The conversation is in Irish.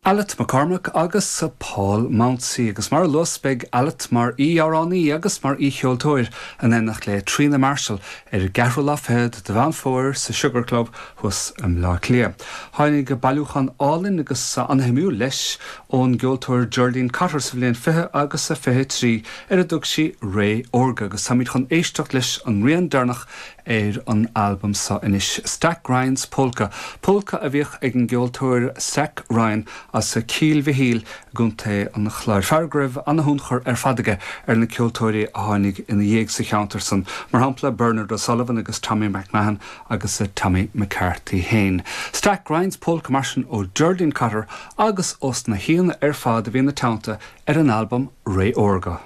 Aled McCormack agus Paul Mounsey agus mar a luas beidh Aled mar aoi-amhránaí agus mar aoi-cheoltóir in éineacht le Tríona Marshall ar an gceathrú lá fichead de Mheán Fómhair sa Sugar Club thuas i mBleá Cliath. Tháinig bailiúchán álainn agus an-shuimiúil leis ón gceoltóir Geraldine Cotter sa bhliain 20 agus a 23 ar a dtug sí Ré Órga agus táimid chun éisteacht leis an rian deireanach ar an albam seo anois, Stack Ryan's Polka, polca a bhíodh ag an gceoltóir Stack Ryan as Cill Mhichíl i gContae an Chláir, fear go raibh ana-thionchar ar fad aige ar na ceoltóirí a tháinig ina dhiaidh sa cheantar san, mar shampla Bernard O'Sullivan agus Tommy McMahon agus Tommy McCarthy féin. Stack Ryan's Polka mar sin ó Geraldine Cotter agus ós na haíonna ar fad a bhí ina teannta ar an albam Ré Órga.